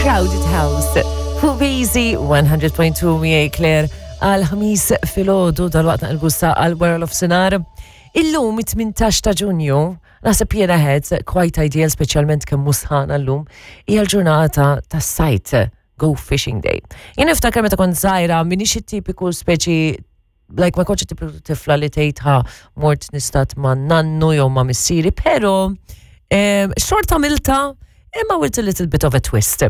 Crowded House. Fuq Easy 100.2 miegħi Claire għal ħamis filgħodu dal-waqt naqilbu sa għal wara l-ofsinhar. Illum it-18 ta' Ġunju, naħseb jiena head quite ideal speċjalment kemm mhux sħana llum, hija l-ġurnata tas-sajt Go Fishing Day. Jien niftakar meta kont żgħira minix it-tipiku speċi like ma kontx tipiku tifla li tgħid ha mort nistat ma' nannu jew ma' missieri, però xorta għamilta imma with a little bit of a twist.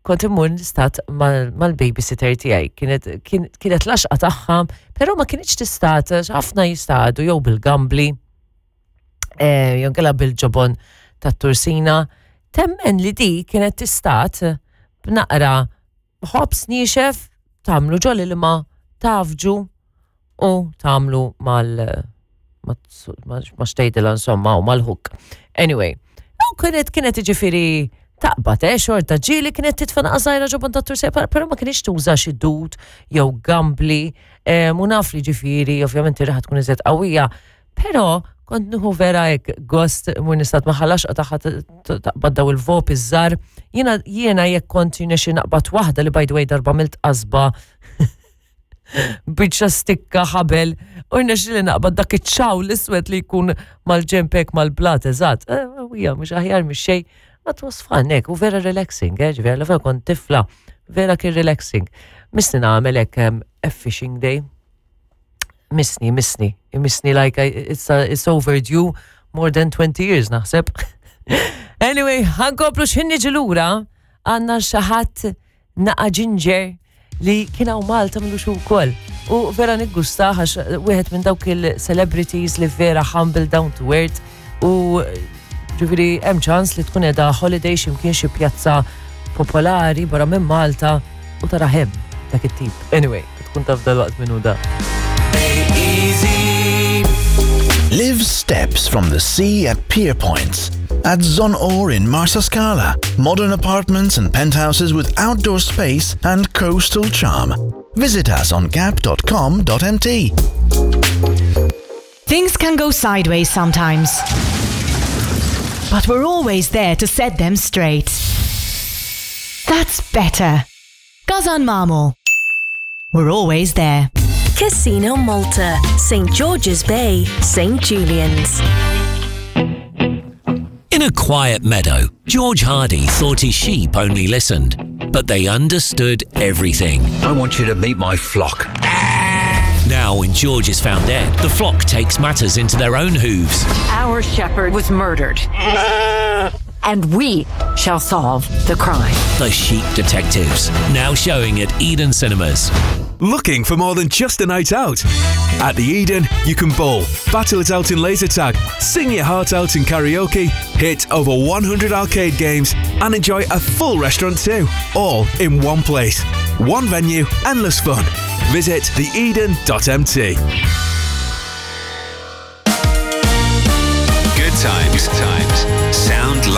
Kont immur nistat mal-babysitter tiegħi. Kienet kienet l-għaxqa tagħha, però ma kinitx tistat ħafna jistadu jew bil-gambli, eh, jew nkella bil-ġobon tat-tursina. Temmen li di kienet tistat b'naqra ħobż niexef tagħmlu ġol ilma tafġu u tagħmlu mal ma xtejdilha insomma u mal-hook. Anyway, u kienet kienet ġifieri taqbad, eh, xorta ġieli kienet titfa' naqra żgħira ġobon ta' tursija, però ma kienx tuża xi dud jew gambli, eh, u naf li ġifieri ovvjament ir-riħa tkun iżjed qawwija, Però kont nieħu vera hekk gost mur nistat ma ħalax tagħha taqbad daw il-vop iż-żar. Jiena jiena jekk kont xi naqbad waħda li by the way darba milt qasba biċċa stikka ħabel u rnexxi li naqbad dak iċ-ċaw l-iswed li jkun mal-ġempek mal-blat eżatt. Eh, hija mhux aħjar mhix xejn. Ma was fun hekk u vera relaxing, eh, ġifieri vera kont tifla, vera kien relaxing. Misni nagħmel hekk a fishing day. Misni, misni, misni like I, it's, a, it's overdue more than 20 years naħseb. anyway, ħankomplu x'ħin niġi lura għandna xi ħadd naqa' ġinġer li kien hawn Malta milux ukoll. U vera niggusta għax wieħed minn dawk il-celebrities li vera humble down to earth u ġifieri hemm ċans li tkun qiegħda holiday x'imkien xi pjazza popolari barra minn Malta u tara hemm dak it-tip. Anyway, tkun taf dal-waqt minn hu da. Live steps from the sea at Pier Points. At Zonor in Marsascala, modern apartments and penthouses with outdoor space and coastal charm. Visit us on gap.com.mt. Things can go sideways sometimes. But we're always there to set them straight. That's better. Gazan Marmor. We're always there. Casino Malta, St. George's Bay, St. Julian's. In a quiet meadow, George Hardy thought his sheep only listened, but they understood everything. I want you to meet my flock. Now, when George is found dead, the flock takes matters into their own hooves. Our shepherd was murdered. And we shall solve the crime. The Sheep Detectives, now showing at Eden Cinemas. Looking for more than just a night out? At the Eden, you can bowl, battle it out in laser tag, sing your heart out in karaoke, hit over 100 arcade games, and enjoy a full restaurant too. All in one place. One venue, endless fun. Visit theeden.mt. Good times. Good times.